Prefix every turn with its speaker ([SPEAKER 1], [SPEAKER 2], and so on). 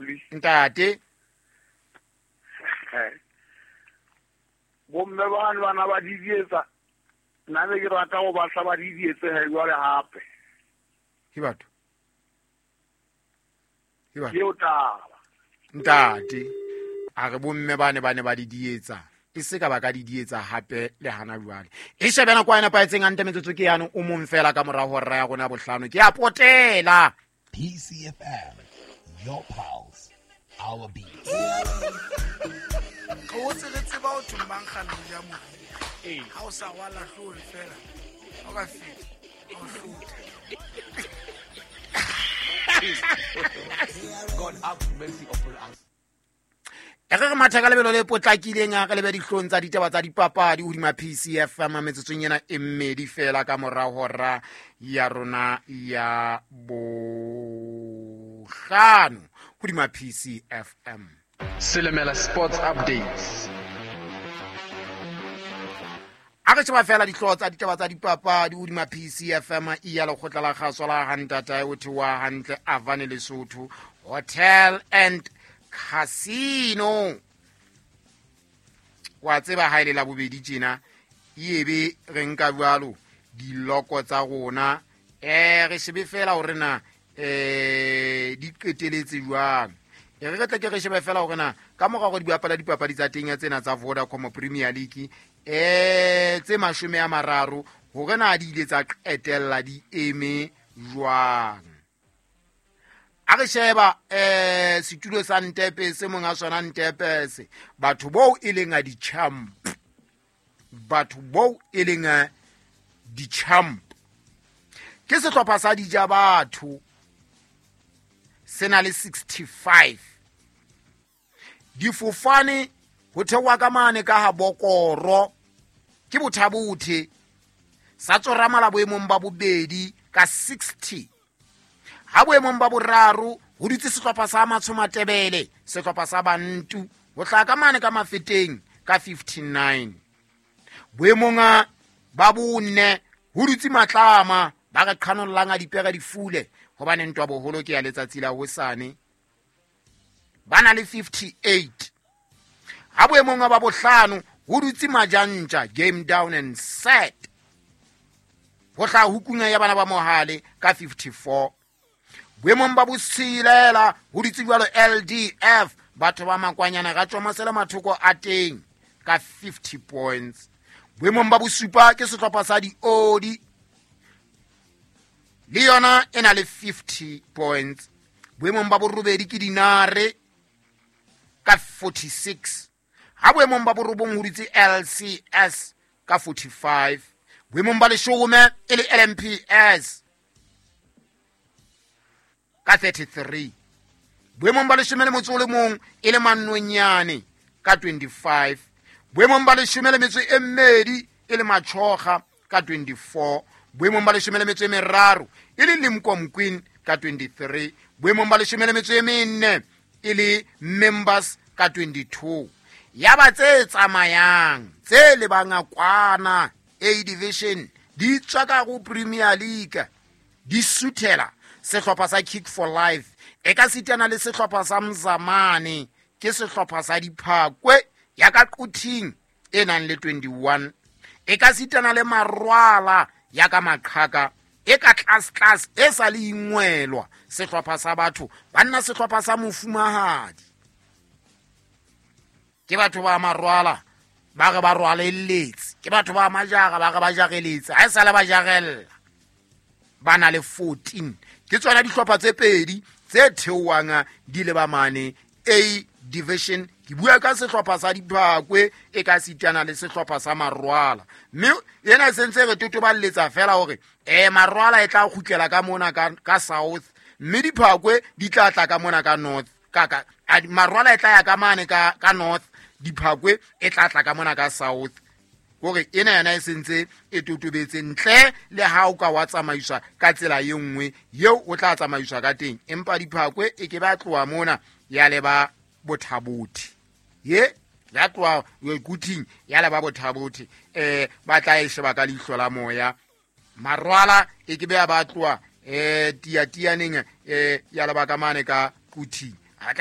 [SPEAKER 1] Mopli.
[SPEAKER 2] Ntate.
[SPEAKER 1] Bomme bane bana ba didietsa. Nna ne ke rata go batla ba didietse he jwale hape.
[SPEAKER 2] Ke batho. Ke batho.
[SPEAKER 1] Ke eo taba.
[SPEAKER 2] Ntate. A re bomme bane ba ne ba didietsa. E se ka ba ka didietsa hape le hana jwale. E shebe nako e nepahetseng hantle metsotso ke yane o mong fela ka mora hora ya rona bohlano. Ke a potela.
[SPEAKER 3] PCFM, your pulse, our beat.
[SPEAKER 4] Re hotse re tseba ho thwe mankgane o ja moriri. Ha o sa rwala hloohong fela, ha o ka feta, ha o hlothe.
[SPEAKER 5] God have mercy upon us.
[SPEAKER 2] E re re matha ka lebelo le potlakileng a re lebe dihlong tsa ditaba tsa dipapadi hodima PCFM metsotsong ena e mmedi fela ka mora hora ya rona ya bohlano hodima PCFM.
[SPEAKER 6] Silimela Sports Updates.
[SPEAKER 2] A re sheba fela dihlooho tsa ditaba tsa dipapadi hodima PCFM e ya lekgotla la kgaso la hantatae o theoha hantle Avane Lesotho Hotel and Casino. Wa tseba ha ile la bobedi tjena ebe re nka jwalo diloko tsa rona re shebe fela hore na di qeteletse jwang. E re tle ke re shebe fela hore na ka mora hore di bapala dipapadi tsa teng tsena tsa Vodacom Premier League tse 30 hore na di ile tsa qetella di eme jwang. A re sheba setulo sa Ntepe se mong a sona Ntepe se batho boo e leng a di-champ, batho boo e leng a di-champ ke sehlopha sa dija batho se na le 65 difofane ho theoha ka mane ka ha Bokoro ke bothabothe sa tsoramala boemong ba bobedi ka 60 ha boemong ba boraro ho dutse sehlopha sa Matshomatebele sehlopha sa Bantu ho tla ka mane ka Mafeteng ka 59 boemong ba bone ho dutse Matlama ba re qhanollang a dipere difule hobane ntwa boholo ke ya letsatsi la hosane ba na le 58 ha boemong ba bohlano ho dutse Majantja game down and set ho tla hukunya ya bana ba Mohale ka 54 boemong ba botshelela ho dutse jwalo LDF batho ba Makwanyana ga tswa mathoko a teng ka 50 points boemong ba bosupa ke sehlopha sa diodi le yona e na le 50 points boemong ba borobedi ke Dinare ka 46 ha boemong ba borobong ho dutse LCS ka 45 boemong ba leshome e le LMPS ka 33 boemong ba leshome le motso o le mong e le Manonyane ka 25 boemong ba leshome le metso e mmedi e le Machoga ka 24 boemong ba leshome le metso e meraro e le Limkom Queen ka 23 boemong ba leshome le metso e menne e le Members ka 22 ya ba tse tsamayang tse lebang kwana A Division di tswa ka go Premier League di suthela sehlopha sa Kick for Life e ka sitana le sehlopha sa Mzamane ke sehlopha sa Diphakwe ya ka Quthing e nang le 21 e ka sitana le Marwala ya ka Maqhaka e ka tlase tlase e sa le ingwelwa sehlopha sa batho banna sehlopha sa mofumahadi ke batho ba Marwala ba re ba rwalelletse ke batho ba Majara ba re ba jareletse ha e sale ba jarella ba na le 14 ke tsona dihlopha tse pedi tse theohang di le ba mane A Division ke bua ka sehlopha sa Diphakwe e ka sitana le sehlopha sa Marwala mme ena e sentse re totoballetsa fela hore Marwala e tla kgutlela ka mona ka South mme Diphakwe di tla tla ka mona ka North ka Marwala e tla ya ka mane ka North Diphakwe e tla tla ka mona ka South hore ena yona e sentse e totobetse ntle le ha o ka wa tsamaiswa ka tsela e nngwe eo o tla tsamaiswa ka teng empa Diphakwe e ke ba tloha mona ya leba Bothabothe ye ya tloha Quthing ya leba Bothabothe ba tla e sheba ka leihlo la moya Marwala e ke be ba tloha tiatianeng ya leba ka mane ka Quthing a tla e